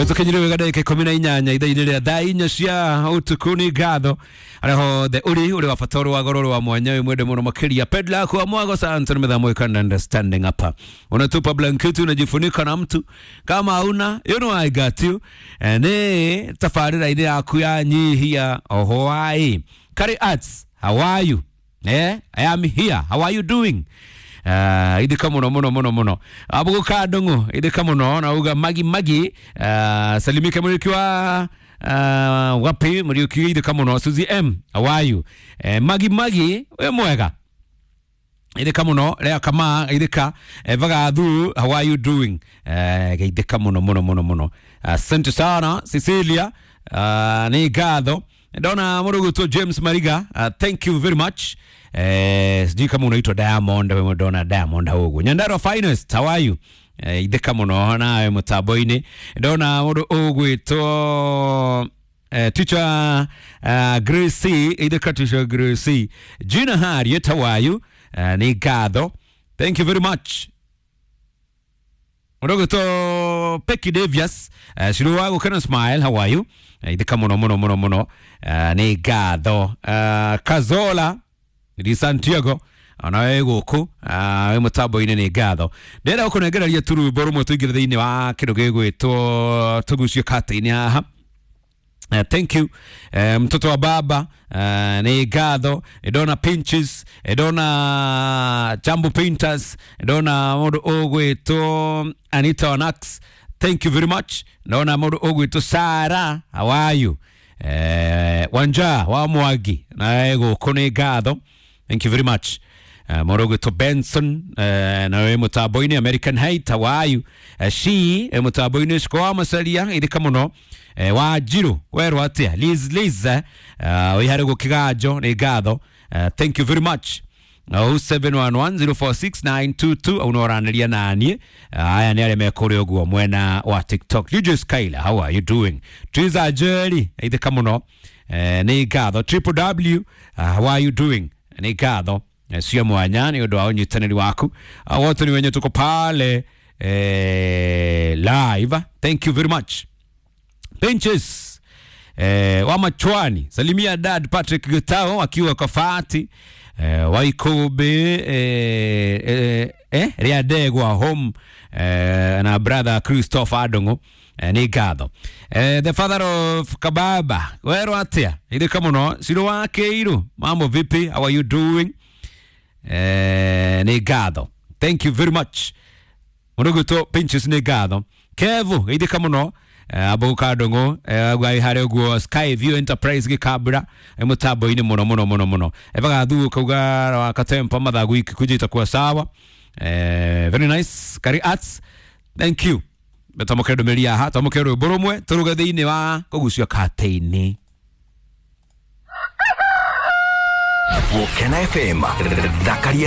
Tukinyire wega ndagika 18 ithaa-inĩ rĩa thaa 4 cia ũtukũ. Nĩ ngatho arĩa hothe ũrĩ wa bata, ũrĩ wa goro, ũrĩ wa mwanya, wĩ mwende mũno makĩria. Pedla kwa mwago santo ni mĩthamo ikanda understanding hapa, unatupa blanketi unajifunika na mtu kama hauna, you know I got you. Nĩ tabarĩra-inĩ yaku ya nyihia ohoai Kari Arts, how are you? I am here, how are you doing? Ithika muno muno muno muno abuguka ndungu ithika muno na uga magi magi. Salimike Muriuki wa wapi Muriuki, ithika muno. Suzy M, how are you? Magi magi, we mwega, ithika muno. Lea kama ithika. Vagathu, how are you doing? Ithika muno muno muno muno. Asante sana Cecilia, ni ngatho. Ndona muruguto James Mariga, thank you very much. Sijui kama unaitwa Diamond, wewe ndona Diamond hugu. Nyandarua finest, how are you? Ithika muno nawe mutambo-inĩ. Ndona mundu ugwitwo teacher Gracie, ithika teacher Gracie. Gina Harriet, how are you? Ni ngatho. Thank you very much. Mũndũ Pecky Davies, Shiru wa gũkena smile, how are you? Ithika muno muno muno muno. Nĩ ngatho. Kazola di Santiago, ona wĩ gũkũ wĩ mũtambo-inĩ, nĩ ngatho. Ndĩrenda gũkũnengereria tu rwĩmbo rũmwe tũingĩre thĩinĩ wa kĩndũ gĩgwĩtwo tũgucio kata-inĩ haha. Thank you, mtoto wa baba, nĩ ngatho. Ndona Pinches, ndona Jambo Painters, ndona mũndũ ũgwĩtwo Anita Onax, thank you very much. Ndona mũndũ ũgwĩtwo Sara, how are you? Wanja wa Mwangi nawe gũkũ, nĩ ngatho, thank you very much. Mũndũ ũgwĩtwo Benson, nawe mũtambo-inĩ. American Height, how are you? She mũtambo-inĩ. Ciko wa Macaria, ithika mũno. Wanjiru werwo atia? Liz Liz, wĩ harĩ gũkĩganjo, nĩ ngatho, thank you very much. 0711046922 au no ũranĩria naniĩ. Aya nĩ arĩa mekũrĩa ũguo mwena wa TikTok. DJ Skyler, how are you doing? Triza Jerry, ithika mũno, nĩ ngatho. Triple W, how are you doing? Nĩ ngatho cia mwanya nĩ ũndũ wa ũnyitanĩri waku. Wote ni wenye tuko pale live, thank you very much. Pinches wa Machwani, salimia dad Patrick Gitao akiwa Kafati Waikube Riadegwa home na brother Christopher Adongo, nĩ ngatho. The father of Kababa, werwo atia? Ithika muno. Ciro wa Keiru, mambo vipi, how are you doing? Nĩ ngatho, thank you very much. Mũrũgũtwo Pinches, nĩ ngatho. Kevu, ithika mũno. Abũka ndũng'ũ gai harĩ ũguo Sky View Enterprise gĩkambura mũtambo-inĩ mũno mũno mũno mũno. Evagathu kauga wa katempa mathagu ikikuja itakuwa sawa. Very nice. Kari Arts, thank you. Twamũkĩre ndũmĩrĩri haha, twamũkĩre rwĩmbo rũmwe tũruge thĩinĩ wa kũgucio katĩ-inĩ. Gũkena FM, thakaria.